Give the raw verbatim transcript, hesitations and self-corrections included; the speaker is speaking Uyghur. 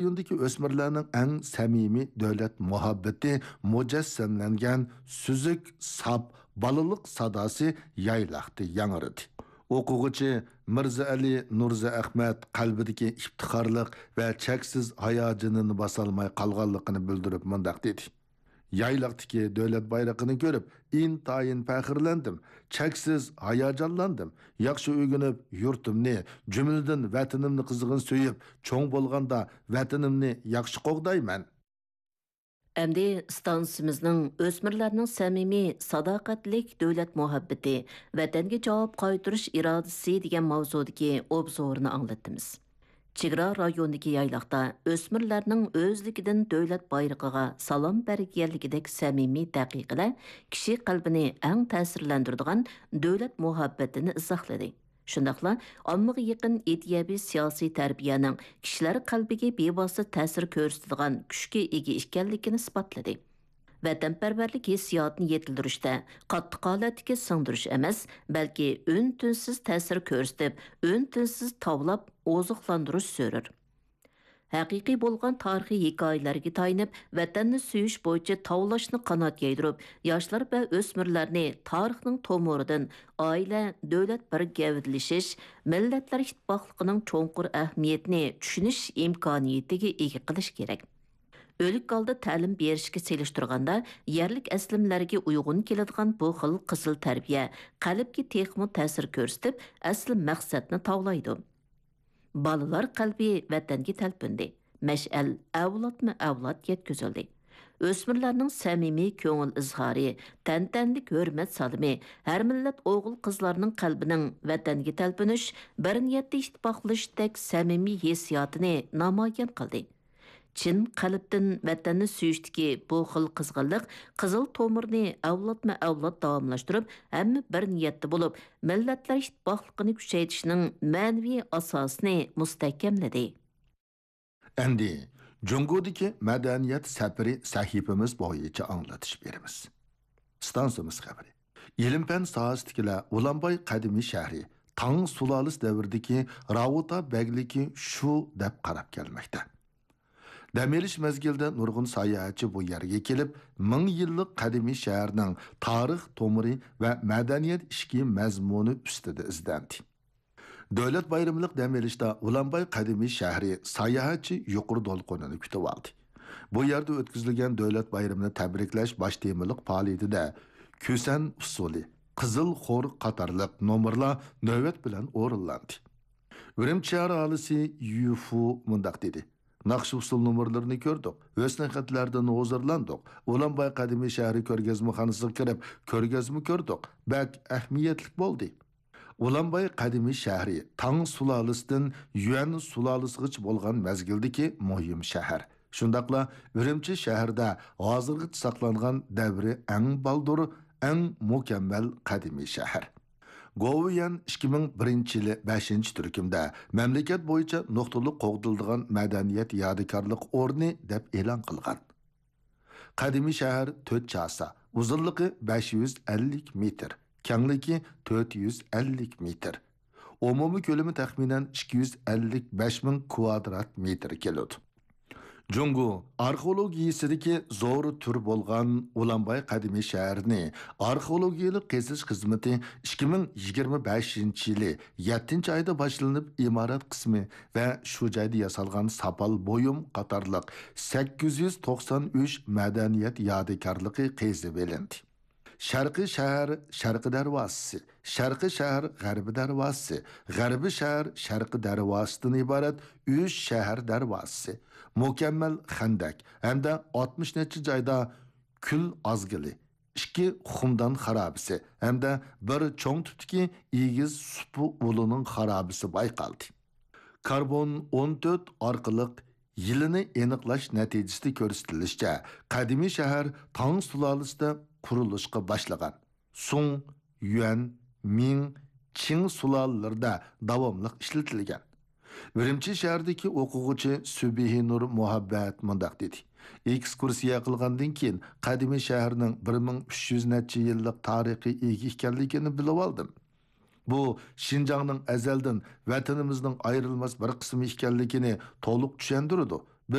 رايوندىكى ئۆسمۈرلەرنىڭ ئەڭ سەمىمىي دۆلەت مۇھەببىتى مۇجەسسەملەنگەن سۈزۈك، ساپ بالىلىق ساداسى يايلاقتا ياڭرىدى. ئوقۇغۇچى مىرزائەلى نۇرزائەخمەت قەلبىدىكى ئىپتىخارلىق ۋە چەكسىز ھاياجىنىنى باسالماي قالغانلىقىنى بىلدۈرۈپ مۇنداق دېدى: يايلاقتىكى دۆلەت بايرىقىنى كۆرۈپ، ئىنتايىن پەخىرلەندىم، چەكسىز ھاياجانلاندىم. ياخشى ئۆگىنىپ، يۇرتۇمنى، جۈملىدىن ۋەتىنىمنى قىزغىن سۆيۈپ، چوڭ بولغاندا ۋەتىنىمنى ياخشى قوغدايمەن. ئەمدى ئىستانسىمىزنىڭ ئۆسمۈرلەرنىڭ سەمىمىي، ساداقەتلىك دۆلەت مۇھەببىتى، ۋەتەنگە جاۋاب قايتۇرۇش ئىرادىسى دېگەن ماۋزۇدىكى ئوبزورىنى ئاڭلىتىمىز. چېگرا رايونىدىكى يايلاقتا ئۆسمۈرلەرنىڭ ئۆزلۈكىدىن دۆلەت بايرىقىغا سالام بەرگەنلىكىدەك سەمىمىي دەقىقىلەر كىشى قەلبىنى ئەڭ تەسىرلەندۈرىدىغان دۆلەت مۇھەببىتىنى ئىزاھلىدى. شۇنداقلا ئاممىغا يېقىن ئىدىيەۋى سىياسىي تەربىيەنىڭ كىشىلەر قەلبىگە بىۋاسىتە تەسىر كۆرسىتىدىغان كۈچكە ئىگە ئىكەنلىكىنى ئىسپاتلىدى. ۋەتەنپەرۋەرلىك ھېسسىياتىنى يېتىلدۈرۈشتە قاتتىق ھالەتتىكى سىڭدۈرۈش ئەمەس، بەلكى ئۈن-تىنسىز تەسىر كۆرسىتىپ، ئۈن-تىنسىز تاۋلاپ ئوزۇقلاندۇرۇش زۆرۈر. ھەقىقىي بولغان تارىخىي ھېكايىلەرگە تايىنىپ، ۋەتەننى سۆيۈش بويىچە تاۋلاشنى قانات يايدۇرۇپ، ياشلار ۋە ئۆسمۈرلەرنى تارىخنىڭ تومۇرىدىن ئائىلە، دۆلەت بىر گەۋدىلىشىش، مىللەتلەر ئىتتىپاقلىقىنىڭ چوڭقۇر ئەھمىيىتىنى چۈشىنىش ئىمكانىيىتىگە ئىگە قىلىش كېرەك. ئۆلۈك ھالدا تەلىم بېرىشكە سېلىشتۇرغاندا، يەرلىك ئەسلىمىلەرگە ئۇيغۇن كېلىدىغان بۇ خىل قىزىل تەربىيە قەلبكە تېخىمۇ تەسىر كۆرسىتىپ، ئەسلى مەقسەتنى تاۋلايدۇ. بالىلار قەلبى ۋەتەنگە تەلپۈندى. مەشئەل ئەۋلادمۇ ئەۋلاد يەتكۈزۈلدى. ئۆسمۈرلەرنىڭ سەمىمىي كۆڭۈل ئىزھارى، تەنتەنىلىك ھۆرمەت سالىمى ھەر مىللەت ئوغۇل-قىزلارنىڭ قەلبىنىڭ ۋەتەنگە تەلپۈنۈش، بىر نىيەتتە ئىتتىپاقلىشىشتەك سەمىمىي ھېسسىياتىنى نامايان قىلدى. چىن قەلبتىن ۋەتەننى سۆيۈشتىكى بۇ خىل قىزغىنلىق قىزىل تومۇرنى ئەۋلادمۇ ئەۋلاد داۋاملاشتۇرۇپ، ھەممە بىر نىيەتتە بولۇپ، مىللەتلەر ئىتتىپاقلىقىنى كۈچەيتىشنىڭ مەنىۋى ئاساسىنى مۇستەھكەملىدى. ئەمدى جۇڭگودىكى مەدەنىيەت سەپىرى سەھىپىمىز بويىچە ئاڭلىتىش بېرىمىز. ئىستانسىمىز خەۋىرى. ئىلىم-پەن ساھەسىدىكىلەر ئۇلانباي قەدىمىي شەھىرى تاڭ سۇلالىسى دەۋرىدىكى راۋۇتا بەگلىكى شۇ دەپ قاراپ كەلمەكتە. دەم ئېلىش مەزگىلىدە نۇرغۇن ساياھەتچى بۇ يەرگە كېلىپ، مىڭ يىللىق قەدىمىي شەھەرنىڭ تارىخ تومۇرى ۋە مەدەنىيەت ئىچكى مەزمۇنى ئۈستىدە ئىزدەندى. دۆلەت بايرىملىق دەم ئېلىشتا ئۇلانباي قەدىمىي شەھىرى ساياھەتچى يۇقىرى دولقۇنىنى كۈتۈۋالدى. بۇ يەردە ئۆتكۈزۈلگەن دۆلەت بايرىمىنى تەبرىكلەش باش تېمىلىق پائالىيىتىدە كۈسەن ئۇسسۇلى، قىزىل خور قاتارلىق نومۇرلار نۆۋەت بىلەن ئورۇنلاندى. ئۈرۈمچى شەھەر ئاھالىسى يۈفۇ مۇنداق دېدى: ناخشا ئۇسسۇل نومۇرلىرىنى كۆردۇق، ھۆسنى خەتلەردىن ھۇزۇرلاندۇق، ئۇلانباي قەدىمىي شەھىرى كۆرگەزمىخانىسىغا كىرىپ كۆرگەزمە كۆردۇق، بەك ئەھمىيەتلىك بولدى. ئۇلانباي قەدىمىي شەھىرى تاڭ سۇلالىسىدىن يۈەن سۇلالىسىغىچە بولغان مەزگىلدىكى مۇھىم شەھەر. شۇنداقلا ئۈرۈمچى شەھىرىدە ھازىرغىچە ساقلانغان دەۋرى ئەڭ بالدۇر، ئەڭ مۇكەممەل قەدىمىي شەھەر. گوۋۇيۈەن ئىككى مىڭ بىرىنچى يىلى بەشىنچى تۈركۈمدە مەملىكەت بويىچە نۇقتىلىق قوغدىلىدىغان مەدەنىيەت يادىكارلىق ئورنى دەپ ئېلان قىلغان. قەدىمىي شەھەر تۆت چاسا، ئۇزۇنلۇقى بەش يۈز ئەللىك مېتىر، كەڭلىكى تۆت يۈز ئەللىك مېتىر. ئومۇمىي كۆلىمى تەخمىنەن ئىككى يۈز ئەللىك بەش مىڭ كۋادرات مېتىر كېلىدۇ. جۇڭگو ئارخېئولوگىيىسىدىكى زور تۈر بولغان ئۇلانباي قەدىمىي شەھىرىنى ئارخېئولوگىيەلىك قېزىش خىزمىتى ئىككى مىڭ يىگىرمە بەشىنچى يىلى يەتتىنچى ئايدا باشلىنىپ، ئىمارەت قىسمى ۋە شۇ جايدا ياسالغان ساپال بۇيۇم قاتارلىق سەككىز يۈز توقسان ئۈچ مەدەنىيەت يادىكارلىقى قېزىۋېلىندى. شەرقىي شەھەر شەرقىي دەرۋازىسى، شەرقىي شەھەر غەربىي دەرۋازىسى، غەربىي شەھەر شەرقىي دەرۋازىسىدىن ئىبارەت ئۈچ شەھەر دەرۋازىسى، مۇكەممەل خەندەك ھەمدە ئاتمىش نەچچە جايدا كۈل ئازگىلى، ئىككى خۇمدان خارابىسى ھەمدە بىر چوڭ تىپتىكى ئېگىز سۇپا ئۇلىنىڭ خارابىسى بايقالدى. كاربون ئون تۆت ئارقىلىق يىلىنى ئېنىقلاش نەتىجىسىدە كۆرسىتىلىشىچە، قەدىمىي شەھەر تاڭ سۇلالىسىدا قۇرۇلۇشقا باشلىغان. سۇڭ، يۈەن، مىڭ، چىڭ سۇلالىلىرىدا داۋاملىق ئىشلىتىلگەن. ئۈرۈمچى شەھىرىدىكى ئوقۇغۇچى سۈبھىنۇر مۇھەببەت مۇنداق دېدى: ئېكسكۇرسىيە قىلغاندىن كېيىن، قەدىمىي شەھەرنىڭ بىر مىڭ ئۈچ يۈز نەچچە يىللىق تارىخقا ئىگە ئىكەنلىكىنى بىلىۋالدىم. بۇ شىنجاڭنىڭ ئەزەلدىن ۋەتىنىمىزنىڭ ئايرىلماس بىر قىسمى ئىكەنلىكىنى تولۇق چۈشەندۈرىدۇ.